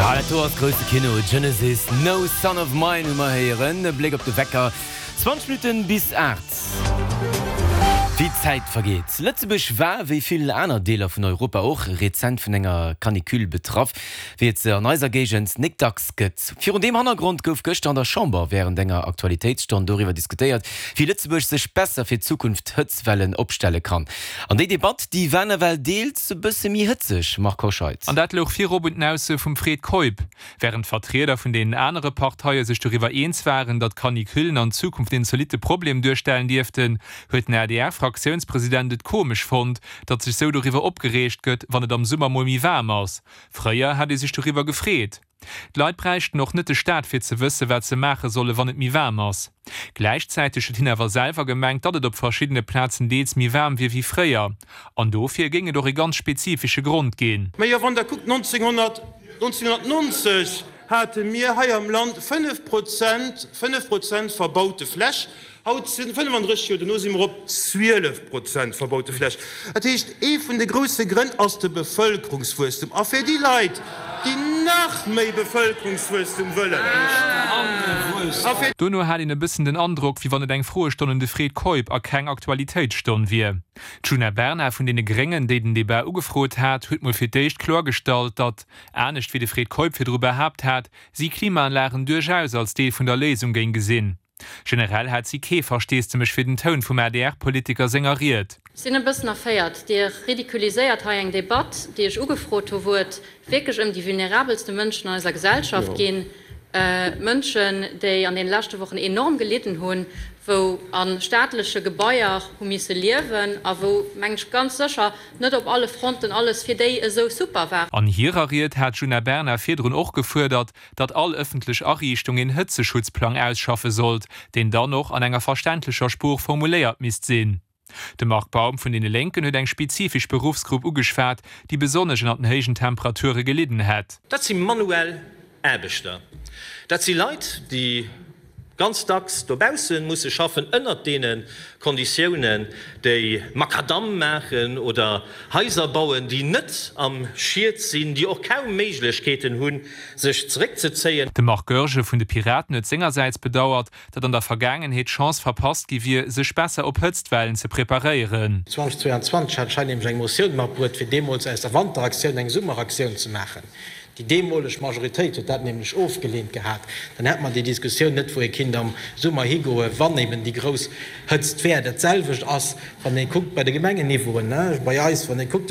Ja, dat do ass grousse Kino, Genesis, No Son of Mine hu mer héieren. E Bléck op de Wecker, 20 Minutten bis 8. Wéi d'Zäit vergeet. Lëtzebuerg war, wéi vill aner Deeler vun Europa och, rezent vun enger Canicule betraff, wéi et se an eiser Géigend nik dacks gëtt. Virun deem Hannergrond gouf gëschter an der Chamber wärend enger Aktualitéitsstonn doriwwer diskutéiert, wéi Lëtzebuerg sech besser fir Zukunft Hëtzwellen opstelle kann. An déi Debatt, déi war nawell deels e bësse méi hëtzeg, Marc Hoscheid. An dat louch virop un den Aussoe vum Fred Keup. Wärend d'Vertrieder vun deenen anere Parteie sech doriwwer eens waren, datt Canicullen an Zukunft een zolitte Problem duerstellen dierften, huet den ADR-Fraktiounspresident et komesch fonnt, datt sech sou doriwwer opgereegt gëtt, wann et am Summer mol méi waarm ass. Fréier hätt ee sech doriwwer gefreet. D'Leit bräichten och net de Staat fir ze wësse wat se maache solle wann et méi waarm ass. Gläichzäiteg huet hien awer selwer gemengt, datt et op verschiddene Plazen deels méi waarm wier wéi fréier. An dofir géing et och e ganz spezifesche Grond ginn. Mä jo, wann Der kuckt, 1990 hate mir hei am Land 5 Prozent, 5 Prozent verbaute Fläch. Haut, 35 Joer dono, si mer op 12 Prozent verbaute Fläch. Dat heescht, ee vun de grousse Grënn ass de Bevëlkerungswuesstum. A fir déi Leit, déi nach méi Bevëlkerungswuesstum wëllen, a fir. Dono hat een e bëssen den Androck, wéi wann et eng Froestonn un de Fred Keup a keng Aktualitéitsstonn wier. D'Djuna Bernard vun deene Gréngen, déi den Debat ugefrot hat, huet mol fir d'éischt kloergestallt, datt, anescht wéi de Fred Keup virdru behaapt hat, si Klimaanlagen duerchaus als Deel vun der Léisung géing gesinn. Generell hat si kee Versteesdemech fir den Toun vum ADR-Politiker senger Ried. Ech sinn e bëssen erféiert. Dir ridiculiséiert hei eng Debatt, déi ech ugefrot hu wou et wierklech ëm déi vulnerabelste Mënschen an eiser Gesellschaft ginn, Mënschen, déi an deene leschte Wochen enorm gelidden hunn, wou a staatleche Gebaier hu misse liewen a wou, mengen ech, ganz sécher net op alle Fronten alles fir déi esou super war. An hirer Ried hat d'Djuna Bernard virdrun och gefuerdert, datt all ëffentlech Ariichtung een Hëtzeschutzplang ausschaffe sollt, deen dann och an enger verständlecher Sprooch formuléiert misst sinn. De Marc Baum vun deene Lénken huet eng spezifesch Beruffsgrupp ugeschwat, déi besonnesch ënner den héijen Temperature gelidden hätt. Dat si manuell Aarbechter. Dat si Leit, déi ganz dacks dobausse musse schaffen, ënnert deene Konditiounen, déi Makadamm maachen oder Haiser bauen, déi net am Schied sinn, déi och kaum Méiglechkeeten hunn, sech zeréckzezéien. De Marc Goergen vun de Piraten huet sengersäits bedauert, datt an der Vergaangenheet d'Chance verpasst gi wier, sech besser op Hëtztwellen ze preparéieren. 2022 hat ech hei nämlech eng Motioun matbruet, fir deemools aus der Wanteraktioun eng Summeraktioun ze maachen. Déi deemoleg Majoritéit huet dat nämlech ofgeleent gehat. Dann hätt mer déi Diskussioun net, wou ee kinnt am Summer higoen, wann eben déi grouss Hëtzt wär. Dat selwecht ass, wann ee kuckt bei de Gemengenniveauen, bei eis, wann ee kuckt.